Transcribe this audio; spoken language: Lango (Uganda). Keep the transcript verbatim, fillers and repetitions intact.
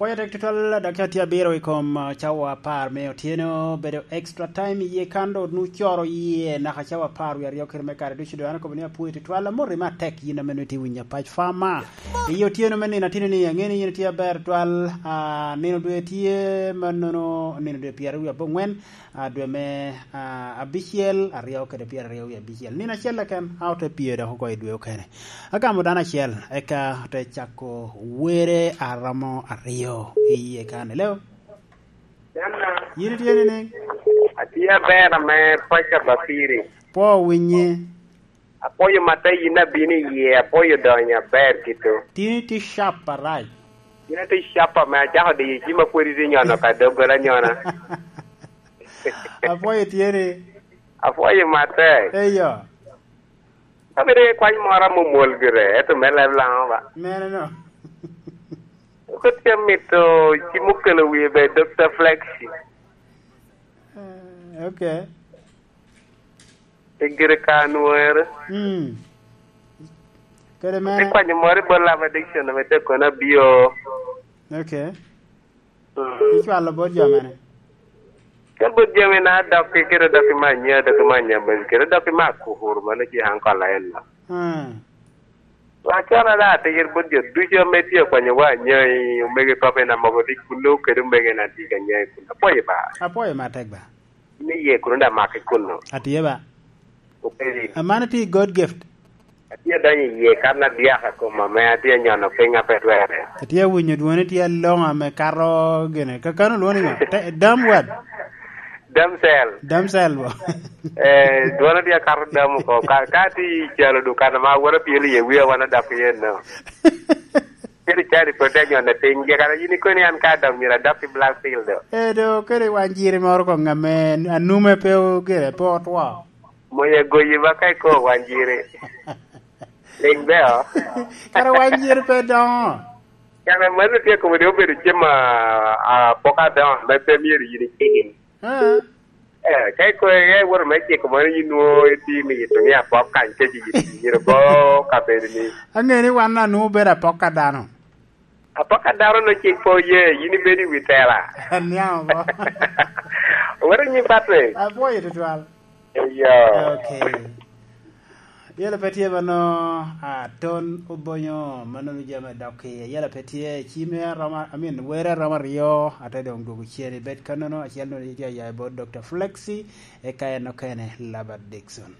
Apwoyo tek tutwal, dakika tye abiro i kom, ah, cawa apar me otyeno, bedo extra time iye kan dok nu coro iye naka cawa apar wie aryo kede me kare ducu. Dong an akobo ni apwoyo tutwal, amoti matek yin ame nongo itye winyo apac fama. I otyeno me nino atino ni, angeni yin itye aber tutwal, ah, nino dwe tye mannono, nino dwe pyeraryo wie abongwen, ah, dwe me, ah, abicel, aryo kede pyeraryo wie abicel. Nino acel keken, a ote pye dok oko i dwe okene. Agamo dano acel, eka ote cako were aromo aryo i yie kan. Hello? Yin itye nining? Atye aber ame paco Bapiri. Pwo winyi. Apwoyo matta yin abino i yie, apwoyo donyo aber kito. Tin itye sharp arac. Yin atye sharp ame acako diyo cim apwod itye nyono ka doggola nyona. Apwoyo tye ni. Apwoyo matta. Eyo. Ka bed iye kwany moro amomol gire, ento me leb Laŋo ba? Mene no. Kodi amito cim okelo wie be Dokta Flexi. Eh, okay. Pi gire ka nwere. Mm. Kede mene. Ikwanyo moro i bot Love Addiction, ame te kono abio. Okay. Mm. Icwalo bot jo mene? Ka bot jami na dok ki kite dok i me anya, dok i me anya, kite dok i me akukuru, mano ci an kolla en no. Mm. Wa cona da atir bot jo ducu ame tye okwanyo wa anya i omege kop en amogo ni kuno kede omege na tye ka anya i kuno. Apwoyo ba. Apwoyo matek ba. Ni ye kuno da make kuno. Atye ba. Obedo. Amano tye i God gift. Atye adonyo i yie kan adyaka koma ame atye anyono piny ape twere. Atye awinyo dwoni tye aloŋo ame kato gine. Kakano lwoni ŋo? Te-, dam wad? Damsel. Damsel bo. Eh, dwona tye akato dam oko. Ka, ka atye i calo dukan ma aworo pyelo iye wia wan adok iye no. Kadi cari pwod te nyone piny, jekara yin ikoni an ka adok myero adok i Blackfield do. Eh, do, kadi wan jiri moro koŋ ame anume pe o-, gire, pe otwo. Moya goyi ba ka iko wan jiri. Ling beo. Kara wan jiri pe doŋo. Kara mano tye kome de obedo cem a, a pok adoŋo, ame pe myero yin icigin. Ah. Eh, ka ikoyo iye iwoto me ciko mano, yin nwoŋo itye mito ni apok kany kec i myero bo kabedo ni. Ange ni wan anwoŋo bedo apok a dano. Apok a dano no cik po ye, yin ibedo i wi tela. Aniaŋ bo. Wero nyi Patrick. Apwoyo tutwal. Eyo. Okay. Yela pe tye mano, a, ton obonyo, mano ni jami dok i. Yela pe tye, cime aroma, I mean, were aroma aryo, ate dong dwogo cen i bed kannono, acel no tye aya i bot Dokta Flexi, eka en okene Labert Dixon.